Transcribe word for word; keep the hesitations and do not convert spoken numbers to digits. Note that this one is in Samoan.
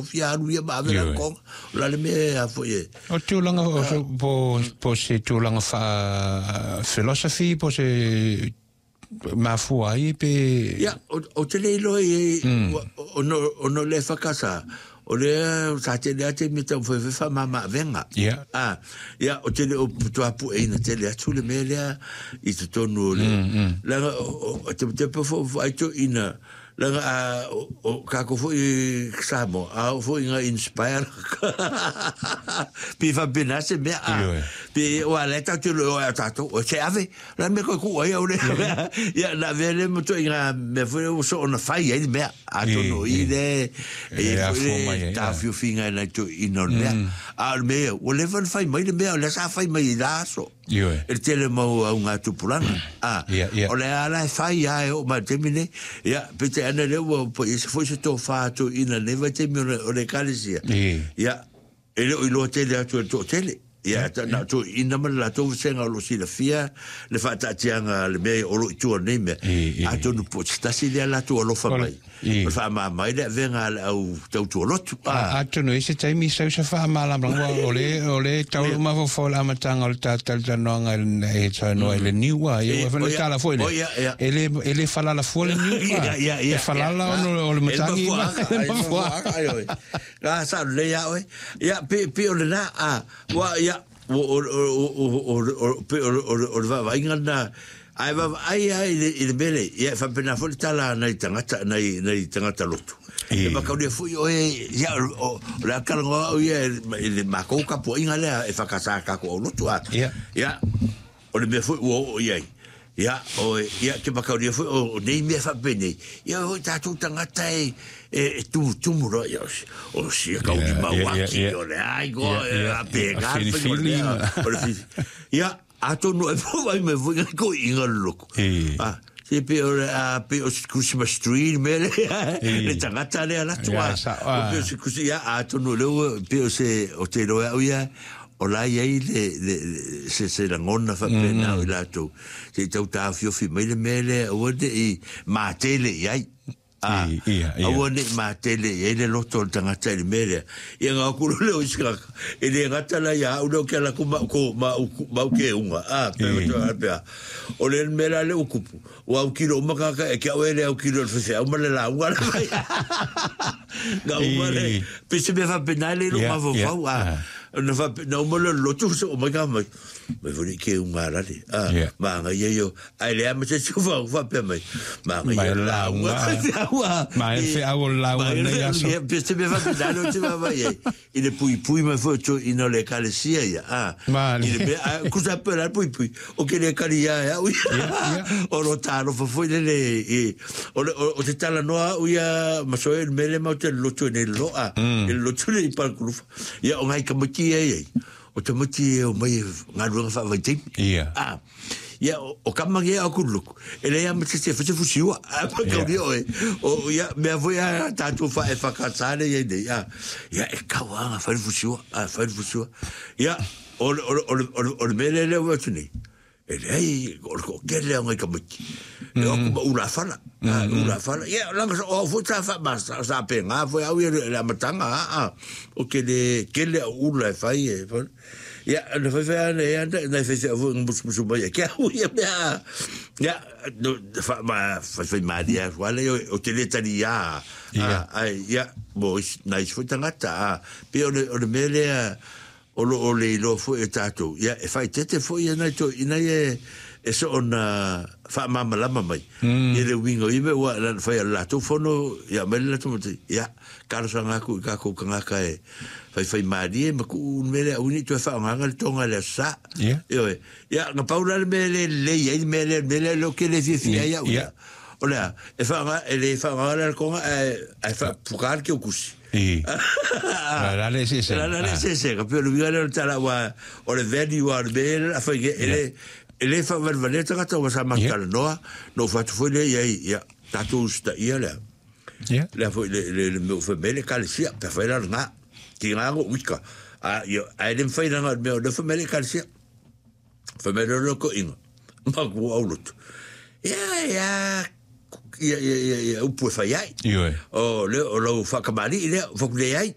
Fia alu ia ma ave la Ioe. konga. O la le mea a foi e. O tulaga o so- po po se tulaga fa philosophy po se mafua ai pe? Ia, o, o te le iloa i o no, o no le whakasa, o le sa te le ate me tau whai whai mama venga. Ia. Ah, ia, o te le o putua pu e ina te le atu le mea lea i te tonu o le. Langa, o, o, o te te pe fo fo aito ina, langa a, o, o kako fo i Samoa, a o fo inga inspire. Pi whapena se mea a. Ioe. Pi o a le tau te lo o a tātou, o se ave, la me koe ku ai au le. Ia, na vea le mo to inga mea foi o so ona whai ai le mea. A tono I, i le, E e a foi fua mai le ai, tā ia. fiufinga nai to ina o le mea. A o le mea, o le whan whai mai le mea, o le sa whai mai i la aso. Ioe. E tele mau au ngā tupuranga. Ah, Ia, ia. o le ala e whai a e o mai temi nei. Ia, pete ana le ua, po i se foi se tō whā tō ina nei vai temi o le, o le kalesia. I. Ia, e le o iloa tele atu e tō tele. Ia, ta, na tō ina ma le latou vasenga o lo silafia, le whaataatianga le mea o lo i tua nei mea. I, i. A tonu po te tasi lea latou alofa Ole, mai. i. O le whaamā le venga le au tautua lotu. A atonu e se taimi sau sa whaamalamalanga o le o le tau mafofo le amatanga o le tātalitanoanga e saunoa i le niua ia E, ua o whana ia, tala foi le o ia, ia. e le e le falala fua le niu Ia, ia, ia, e falala ia. ono o le matangi E ma mafuaga, ai, mafuaga, ai, oi. Ngā sa le ia oe. Ia, pe, pe o le nā, a, wa, ia, o, o, o, o, o, o, pe o, o, o le vaavaaiga na, ai vaavaai ai i le, i le mele, ia, e faapena foi le tala nai tagata, nai, nai tagata lotu. I. E makaulia foi oe, ia, o, o, o le akalagoa au ia, i le makou kapuaiga lea, e whakasā kako au lotu, a. Ia. Ia, o le mea foi ua oo i ai. Ia, o, ia, ke makaulia foi, o, o nei mea whaapenei. Ia, o tātou tangata e, e, e tumu tumu roa, ia, o, si- o sia kauli Ia, mau ia, ia, aki, ia. o le ai, go, Ia, e, ia, a pe, ia, ngā, a whai, o le whiliwhili mea, ma. o le whiwhi. Ia, atonu e pō mai foi ngai ko inga le loko. I. Ah, se pe o le, a, pe o se Christmas tree, me le, le tangata le ala tua. Ia, sa- O pe o se Christmas, ia, atonu le ua, pe o se, o te roa au ia, o la iai le, le, le, se, se langona whapena o i latou. Se i tau tāwhiofi mai le mele, aua ne i mātele i ai. Ah, I, ia, ia. aua ne i mātele i ai le loto o le tangata i le mele. Ia ngā kuro le o isikaka. E le ngata la ia, au leo kia laku ma, ko, ma, uku, ma uke unga. Ah, pe, I. pe, pe, o le mele le ukupu. O au kilo umakaka, e kia oe le au kilo le whewhe, au ma le la unga le mai. Ngā uma le, I. pese me whapena le lo Ia, mawawau. ia, Ah, ah. na whape, na uma le lotu so o mai ka mai. Mai fori ke unga rale. Ah, Ia. maanga ia yo. Ai le ama se chufa whapea mai. Maanga Mai ia la la unga. unga. Mai e wheau o la unga nei aso. Pese me whapena le o te wawa ia. I le pui pui mai fo to ina le kalesia ia. Ah. Male. I le mea, ah, kusa pe la pui pui. O ke le kali ia ia. Ui. Ia, ia. O ro tāro fafoi le le. I, o, le, o, o te tala noa uia masoe le mele mau te lotu nei loa. Mm. I le lotu le i palkulufa. Ia o ngai kamati e ei. O te mati e o mai ngā ruanga whaavaiteimi. Ia. Ah. Ia, o, o kamangi e au kuluku. E lea ma te te whate fusiua. A pa Ia. kauri oe. O, ia, mea foi a tātou wha e whakatane ia nei. Ah. Ia, e kauanga whare fusiua. Ah, whare fusiua. Ia, o, o, o, o, o, o le mele lea ua atu nei. E lei, o le ko kele o ngai kamaki. E o kuma ula whala. Ah, ula whala. Ia, langa sa, o foi tā wha, ma, sa, sa pe ngā foi au ia le amatanga, ah, ah. O kele, kele au ula e whai e, whai. Ia, na whai whai ana e ana, na whai whai au musu musu mai e kia ui e mea. Ia, no, wha, ma, whai whai maari a wale, o, o te le tari ia. Ia. Ah, ai, ia, mo, is- nai foi tangata, ah. Pe o le, o le mele a, o lo o le iloa foi e tātou. Ia, e whaitete foi e nai tō, ina e, e so ona whaamamalama mai. Mm. I le winga i me ua, na whai a lātou fono, ia mai le lātou mate, ia, karasanga aku i kākou kangaka e whai whai mārie, ma ku mele au ni toe whaanganga le tonga le sa. Ia. Ioe, ia, nga paura le mele le ia, i mele, mele lo ke le fia fia ia, Ia. O lea, e whaanga, e le whaanganga le konga, e, e whaapukar ki o kusi. I. La la le se se. La la le se se, ka peo le winga le o le tala wa, o le veni wa o le mele, a whai ke, e le, e le whaawalewale tangata wa sa matala noa, no whatu foi le ia, ia, tātou usita ia lea. Ia. Lea foi le, le, le meo whamele ka le sia, pe whai la ngā, ki ngā ngo wika. A, ia, a e le mwhai ranga meo, le whamele ka le sia. Whamele lo ko inga, ma ku au lotu. Ia, ia, ia ia ia ia upu e fai ai. Ioe. O le o lau faakamali'i lea, fau atu leai.